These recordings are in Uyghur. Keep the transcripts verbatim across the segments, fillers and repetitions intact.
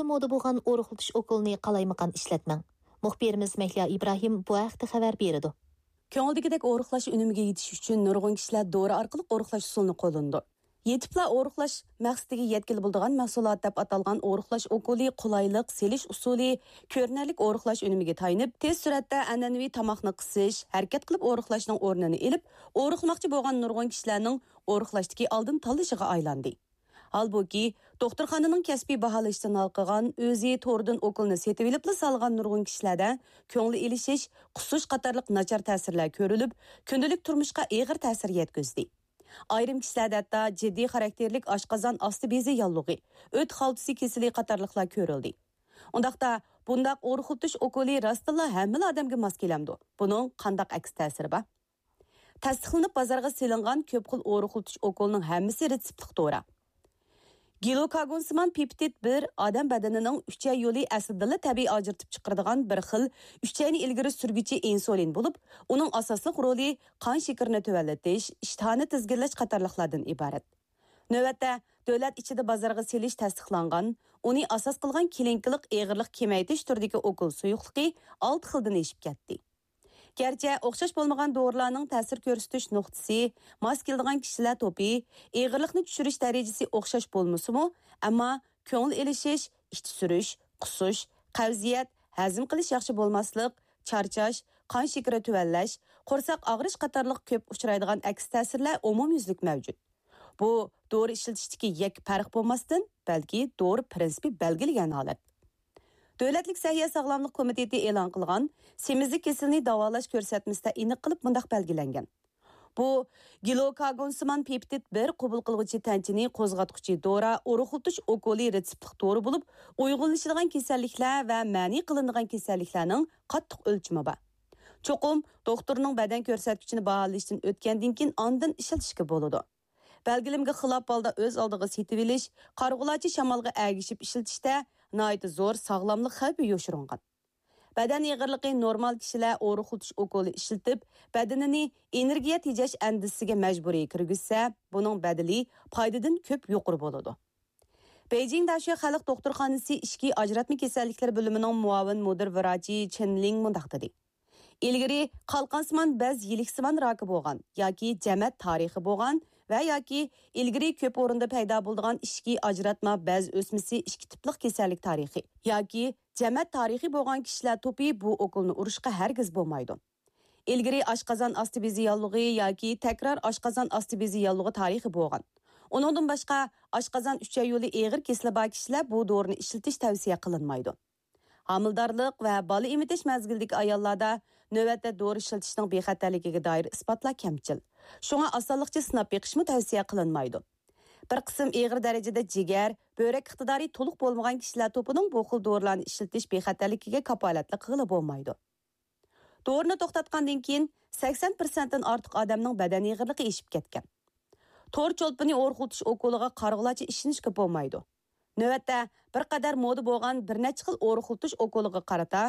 مودا بولغان ئورۇقلىتىش ئوكۇلىنى قالايمىقان ئىشلەتمەڭ. مۇخبىرىمىز مەھلىيا ئىبراھىم بۇ ھەقتە خەۋەر بېرىدۇ. كۆڭۈلدىكىدەك ئورۇقلاش ئۈنۈمىگە يېتىش ئۈچۈن نۇرغۇن كىشىلەر دورا ئارقىلىق ئورۇقلاش ئۇسۇلىنى قوللىنىدۇ. يېتىپلا ئورۇقلاش مەقسىتىگە يەتكىلى بولىدىغان مەھسۇلات دەپ ئاتالغان ئورۇقلاش ئوكۇلى قولايلىق، سېلىش ئۇسۇلى، كۆرۈنەرلىك ئورۇقلاش ئۈنۈمىگە تايىنىپ، تېز سۈرئەتتە ئەنئەنىۋى تاماقنى قىسىش، ھەرىكەت قىلىپ ئورۇقلاشنىڭ ئورنىنى ئېلىپ، ئورۇقلىماقچى بولغان نۇرغۇن كىشىلەرنىڭ ئورۇقلاشتىكى ئالدىن تاللىشىغا ئايلاندى. ھالبۇكى، دوختۇرخانىنىڭ كەسپىي باھالىشىدىن ھالقىغان، ئۆزى توردىن ئوكۇلنى سېتىۋېلىپلا سالغان نۇرغۇن كىشىلەردە كۆڭلى ئېلىشىش، قۇسۇش قاتارلىق ناچار تەسىرلەر كۆرۈلۈپ، كۈندىلىك تۇرمۇشقا ئېغىر تەسىر يەتكۈزدى. ئايرىم كىشىلەردە ھەتتا جىددىي خاراكتېرلىك ئاشقازان ئاستى بېزى ياللۇغى، ئۆت خالتىسى كېسىلى قاتارلىقلار كۆرۈلدى. ئۇنداقتا، بۇنداق ئورۇقلىتىش ئوكۇلى راستتىنلا ھەممىلا ئادەمگە ماس كېلەمدۇ؟ بۇنىڭ قانداق ئەكس تەسىرى بار؟ تەستىقلىنىپ بازارغا سېلىنغان كۆپ خىل ئورۇقلىتىش ئوكۇلىنىڭ ھەممىسى رېتسېپلىق دورا. گلۇكاگونسىمان پېپتىد بىر ئادەم بەدىنىنىڭ ئۈچەي يولى ئەسلىدىنلا تەبىئىي ئاجرىتىپ چىقىرىدىغان بىر خىل ئۈچەينى ئىلگىرى سۈرگۈچى ئىنسۇلىن بولۇپ، ئۇنىڭ ئاساسلىق رولى قان شېكىرىنى تۆۋەنلىتىش، ئىشتىھانى تىزگىنلەش قاتارلىقلاردىن ئىبارەت. نۆۋەتتە، دۆلەت ئىچىدە بازارغا سېلىش تەستىقلانغان، ئۇنى ئاساس قىلغان كلىنىكىلىق ئېغىرلىق كېمەيتىش تۈرىدىكى ئوكۇل سۇيۇقلۇقى ئالتە خىلدىن ئېشىپ كەتتى. گەرچە ئوخشاش بولمىغان دورىلارنىڭ تەسىر كۆرسىتىش نۇقتىسى، ماس كېلىدىغان كىشىلەر توپى، ئېغىرلىقنى چۈشۈرۈش دەرىجىسى ئوخشاش بولمىسىمۇ، ئەمما كۆڭۈل ئېلىشىش، ئىچى سۈرۈش، قۇسۇش، قەۋزىيەت، ھەزىم قىلىش ياخشى بولماسلىق، چارچاش، قان شېكىرى تۆۋەنلەش، قورساق ئاغرىش قاتارلىق كۆپ ئۇچرايدىغان ئەكس تەسىرلەر ئومۇميۈزلۈك مەۋجۇت. بۇ دورا ئىشلىتىشتىكى يەككە پەرق بولماستىن، بەلكى دورا پىرىنسىپى بەلگىلىگەن ھالەت. دۆلەتلىك سەھىيە ساغلاملىق كومىتېتى ئېلان قىلغان سېمىزلىك كېسىلىنى داۋالاش كۆرسەتمىسىدە ئېنىق قىلىپ مۇنداق بەلگىلەنگەن: بۇ گلۇكاگونسىمان پېپتىد بىر قوبۇل قىلغۇچى تەنچىنى قوزغاتقۇچى دورا، ئورۇقلىتىش ئوكۇلى رېتسېپلىق دورا بولۇپ، ئۇيغۇنلىشىدىغان كېسەللىكلەر ۋە مەنئى قىلىنىدىغان كېسەللىكلەرنىڭ قاتتىق ئۆلچىمى بار. چوقۇم دوختۇرنىڭ بەدەن كۆرسەتكۈچىنى باھالىشتىن ئۆتكەندىن كېيىن ئاندىن ئىشلىتىشكە بولىدۇ. بەلگىلىمىگە خىلاپ ھالدا ئۆز ئالدىغا سېتىۋېلىش، قارىغۇلارچە شامالغا ئەگىشىپ ئىشلىتىشتە ناھايىتى زور ساغلاملىق خەۋپى يوشۇرۇنغان. بەدەن ئېغىرلىقى نورمال كىشىلەر ئورۇقلىتىش ئوكۇلى ئىشلىتىپ، بەدىنىنى ئېنېرگىيە تېجەش ئەندىزىسىگە مەجبۇرىي كىرگۈزسە، بۇنىڭ بەدىلى پايدىدىن كۆپ يۇقىرى بولىدۇ. بېيجىڭ داشۆ خەلق دوختۇرخانىسى ئىچكى ئاجراتما كېسەللىكلىرى بۆلۈمىنىڭ مۇئاۋىن مۇدىر ۋراچى چېن لىڭ مۇنداق دېدى: ئىلگىرى قالقانسىمان بەز يىلىكسىمان راكى بولغان ياكى جەمەت تارىخى بولغان ۋە ياكى ئىلگىرى كۆپ ئورۇندا پەيدا بولىدىغان ئىچكى ئاجراتما بەز ئۆسمىسى ئىككى تىپلىق كېسەللىك تارىخى ياكى جەمەت تارىخى بولغان كىشىلەر توپى بۇ ئوكۇلنى ئۇرۇشقا ھەرگىز بولمايدۇ. ئىلگىرى ئاشقازان ئاستى بېزى ياللۇغى ياكى تەكرار ئاشقازان ئاستى بېزى ياللۇغى تارىخى بولغان، ئۇنىڭدىن باشقا ئاشقازان ئۈچەي يولى ئېغىر كېسىلى بار كىشىلەر بۇ دورىنى ئىشلىتىش تەۋسىيە قىلىنمايدۇ. ھامىلىدارلىق ۋە بالا ئېمىتىش مەزگىلىدىكى ئاياللاردا نۆۋەتتە دورا ئىشلىتىشنىڭ بىخەتەرلىكىگە دائىر ئىسپاتلار كەمچىل. شۇڭا ئاسانلىقچە سىناپ بېقىشمۇ تەۋسىيە قىلىنمايدۇ. بىر قىسىم ئېغىر دەرىجىدە جىگەر، بۆرەك ئىقتىدارى تولۇق بولمىغان كىشىلەر توپىنىڭ بۇ خىل دورىلارنى ئىشلىتىش بىخەتەرلىكىگە كاپالەتلىك قىلغىلى بولمايدۇ. دورىنى توختاتقاندىن كېيىن، سەكسەن پىرسەنتتىن ئارتۇق ئادەمنىڭ بەدەن ئېغىرلىقى ئېشىپ كەتكەن. تور چولپىنى ئورۇقلىتىش ئوكۇلىغا قارىغۇلارچە ئىشىنىشكە بولمايدۇ. نۆۋەتتە، بىر قەدەر مودا بولغان بىر نەچچە خىل ئورۇقلىتىش ئوكۇلىغا قارىتا،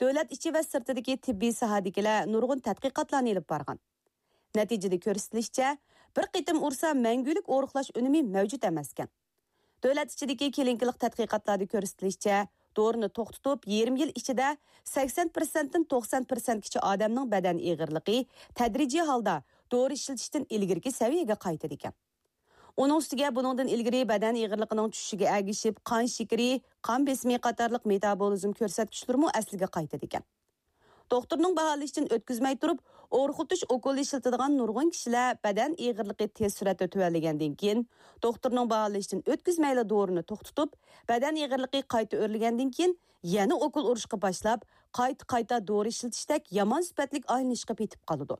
دۆلەت ئىچى ۋە سىرتىدىكى تېببىي ساھەدىكىلەر نۇرغۇن تەتقىقاتلارنى ئېلىپ بارغان. نەتىجىدە كۆرسىتىلىشىچە، بىر قېتىم ئۇرسا مەڭگۈلۈك ئورۇقلاش ئۈنۈمى مەۋجۇت ئەمەسكەن. دۆلەت ئىچىدىكى كلىنىكىلىق تەتقىقاتلاردا كۆرسىتىلىشىچە، دورىنى توختىتىپ، يېرىم يىل ئىچىدە سەكسەن پىرسەنتتىن توقسان پىرسەنتكىچە ئادەمنىڭ بەدەن ئېغىرلىقى تەدرىجىي ھالدا دورا ئىشلىتىشتىن ئىلگىرىكى سەۋىيەگە قايتىدىكەن. ئۇنىڭ ئۈستىگە بۇنىڭدىن ئىلگىرى بەدەن ئېغىرلىقىنىڭ چۈشۈشىگە ئەگىشىپ، قان شېكىرى، قان بېسىمى قاتارلىق مېتابولىزم كۆرسەتكۈچلىرىمۇ ئەسلىگە قايتىدىكەن. دوختۇرنىڭ باھالىشىدىن ئۆتكۈزمەي تۇرۇپ، ئورۇقلىتىش ئوكۇلى ئىشلىتىدىغان نۇرغۇن كىشىلەر بەدەن ئېغىرلىقى تېز سۈرئەتتە تۆۋەنلىگەندىن كېيىن، دوختۇرنىڭ باھالىشىدىن ئۆتكۈزمەيلا دورىنى توختىتىپ، بەدەن ئېغىرلىقى قايتا ئۆرلىگەندىن كېيىن، يەنە ئوكۇل ئۇرۇشقا باشلاپ، قايتا-قايتا دورا ئىشلىتىشتەك يامان سۈپەتلىك ئايلىنىشقا پېتىپ قالىدۇ.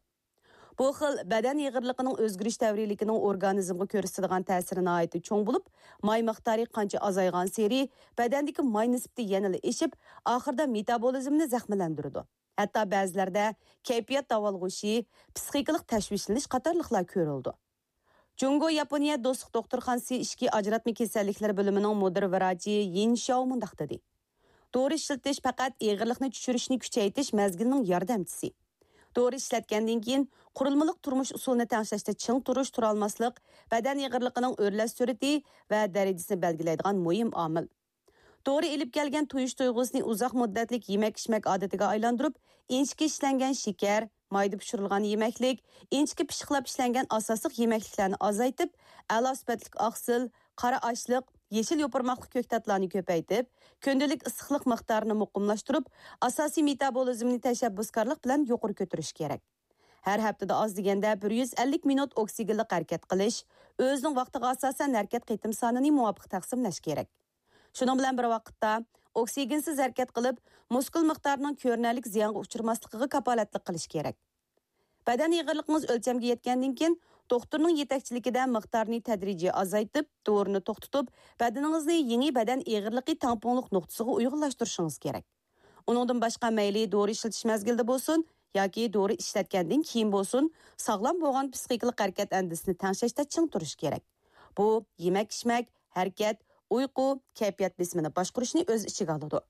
بۇ خىل بەدەن ئېغىرلىقىنىڭ ئۆزگىرىش دەۋرىيلىكىنىڭ ئورگانىزمغا كۆرسىتىدىغان تەسىرى ناھايىتى چوڭ بولۇپ، ماي مىقدارى قانچە ئازايغانسېرى، بەدەندىكى ماي نىسبىتى يەنىلا ئېشىپ، ئاخىرىدا مېتابولىزمنى زەخىملەندۈرىدۇ. ھەتتا بەزىلەردە كەيپىيات داۋالغۇشى، پىسخىكىلىق تەشۋىشلىنىش قاتارلىقلار كۆرۈلىدۇ. جۇڭگو ياپونىيە دوستلۇق دوختۇرخانىسى ئىچكى ئاجراتما كېسەللىكلىرى بۆلۈمىنىڭ مۇدىر ۋراچى يىن شياۋ مۇنداق دېدى: دورا ئىشلىتىش پەقەت ئېغىرلىقنى چۈشۈرۈشنى كۈچەيتىش مەزگىلىنىڭ ياردەمچىسى. دورا ئىشلەتكەندىن كېيىن، قۇرۇلمىلىق تۇرمۇش ئۇسۇلىنى تەڭشەشتە چىڭ تۇرۇش، تۇرالماسلىق، بەدەن ئېغىرلىقىنىڭ ئۆرلەش سۈرئىتى ۋە دەرىجىسىنى بەلگىلەيدىغان مۇھىم ئامىل. دورا ئېلىپ كەلگەن تويۇش تۇيغۇسىنى ئۇزاق مۇددەتلىك يېمەك-ئىچمەك ئادىتىگە ئايلاندۇرۇپ، ئىنچىكە ئىشلەنگەن شېكەر، مايدا پىشۇرۇلغان يېمەكلىك، ئىنچىكە پىششىقلاپ ئىشلەنگەن ئاساسلىق يېمەكلىكلەرنى ئازايتىپ، ئەلا سۈپەتلىك ئاقسىل، قارا ئاشلىق، يېشىل يوپۇرماقلىق كۆكتاتلارنى كۆپەيتىپ، كۈندىلىك ئىسسىقلىق مىقدارىنى مۇقىملاشتۇرۇپ، ئاساسىي مېتابولىزمنى تەشەببۇسكارلىق بىلەن يۇقىرى كۆتۈرۈش كېرەك. ھەر ھەپتىدە ئاز دېگەندە بىر يۈز ئەللىك مىنۇت ئوكسىگېنلىق ھەرىكەت قىلىش، ئۆزىنىڭ ۋاقتىغا ئاساسەن ھەرىكەت قېتىم سانىنى مۇۋاپىق تەقسىملەش كېرەك. شۇنىڭ بىلەن بىر ۋاقىتتا، ئوكسىگېنسىز ھەرىكەت قىلىپ، مۇسكۇل مىقدارىنىڭ كۆرۈنەرلىك زىيانغا ئۇچرىماسلىقىغا كاپالەتلىك قىلىش كېرەك. بەدەن ئېغىرلىقىڭىز ئۆلچەمگە يەتكەندىن كېيىن، دوختۇرنىڭ يېتەكچىلىكىدە مىقدارنى تەدرىجىي ئازايتىپ، دورىنى توختىتىپ، بەدىنىڭىزنى يېڭى بەدەن ئېغىرلىقى تەڭپۇڭلۇق نۇقتىسىغا ئۇيغۇنلاشتۇرۇشىڭىز كېرەك. ئۇنىڭدىن باشقا، مەيلى دورا ئىشلىتىش مەزگىلىدە بولسۇن ياكى دورا ئىشلەتكەندىن كېيىن بولسۇن، ساغلام بولغان پىسخىكىلىق ھەرىكەت ئەندىزىسىنى تەڭشەشتە چىڭ تۇرۇش كېرەك. بۇ يېمەك-ئىچمەك، ھەرىكەت، ئۇيقۇ، كەيپىيات بېسىمىنى باشقۇرۇشنى ئۆز ئىچىگە ئالىدۇ.